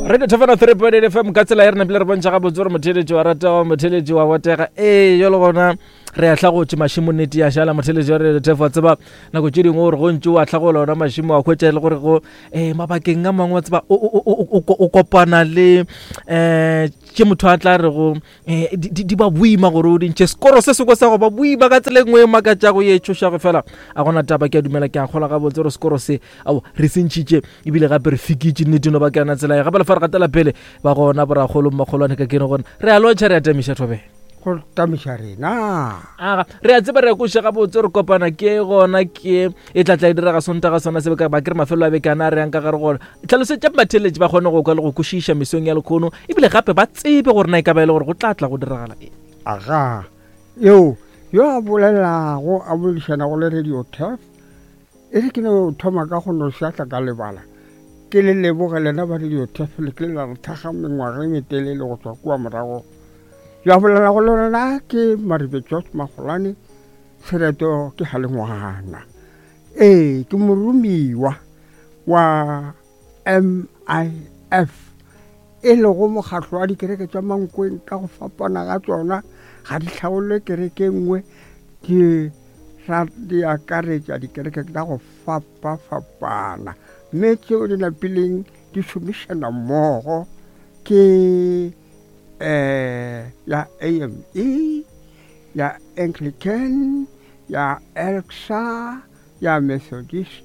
Radio Thofana 3.8 FM ka tsela e re napile re bontšha gabotse gore motheletši wa ratega motheletši wa botega ee jalo gona re a hlagotše mašemo nnete ya šala motheletši wa Radio Thefo wa tseba nako tše dingwe gore go ntše wa hlagola ona mašemo wa hwetša e le gore go um mabakeng a mangwe wa tseba o kopana le um tše motho a tla re go um di ba boima gore o dintšhe sekoro se sengwe sa go ba boima ka tsela e nngwe e makatšago ye tšhošago fela a gona taba ke a dumela ke a kgola gabotse gore sekoro se ao re se ntšhitše ebile gape re fikitše nnete no ba ke yona tsela ye gape lefa re gatela pele ba gona borakgolo mmakgolwane ka kene gona re a lotšha re a tamiša thobela go tamiša rena aga re a tseba re a koša gabotse re kopana ke gona ke e tla tla e direga sontaga sona se ba ke re mafelo a bekana a re yang ka gare gona tlhalosetša batheletši ba kgone go kwa le go kwešiša mesong ya lekgono ebile gape ba tsebe gore na e ka ba e le gore go tla tla go diragala eng aga eo yo a bolelago a boledišanago le radio tef E re ke no thoma ka go no šwahla ka lebala, ke le leboge lena ba Radio Tef le kile la re thakga mengwaga e metelele go tšwa kua morago. Yo a bolelago le lena ke Maribe George Magolane, sereto ke Galengwana. Ee, ke moromiwa wa MIF, e lego mokgatlo wa dikereke tša Mankweng ka go fapana ga tšona, ga di hlaolwe kereke e nngwe, di ra di akaretša dikereke tša go fapafapana, mme tšeo di napileng di šomišana mmogo ke um ya AME, ya Anglican, ya ELCSA, ya Methodist,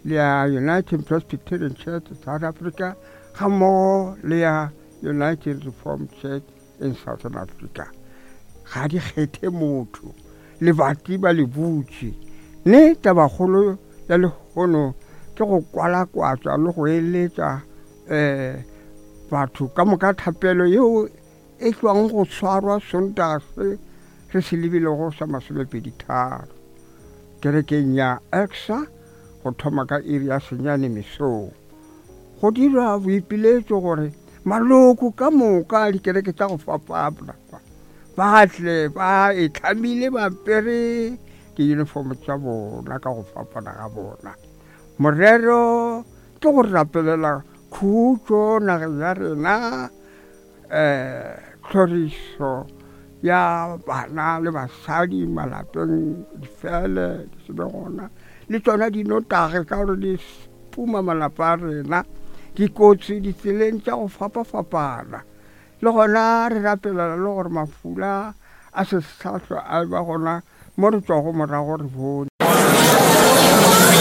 le ya United Presbyterian Church South Africa gammogo le ya United Reformed Church in Southern Africa. Ga di kgethe motho, lebati ba le butše. Ne tabakgolo ya lehono ke go kwalakwatša le go eletša um batho ka moka thapelo yeo e tšwang go swarwa Sontaga se re se lebilego sa masomepeditharo kerekeng ya ECSA go thoma ka iri ya senyane mesong. Go dirwa boipiletšo gore maloko ka moka a dikereke tša go fapana ba tle ba itlhamile ba apere diyunifomo tša bona ka go fapana ga bona. Morero ke go rapelela khutšo nageng ya rena Tlhorišo ya bana le basadi malapeng di fele di se be gona, le tšona dinotagi ka gore di puma malapa a rena, dikotsi ditseleng tša go fapafapana. Le gona re rapelela le gore mafula a se sa hlwa a ba gona mo re tšwago morago re bone.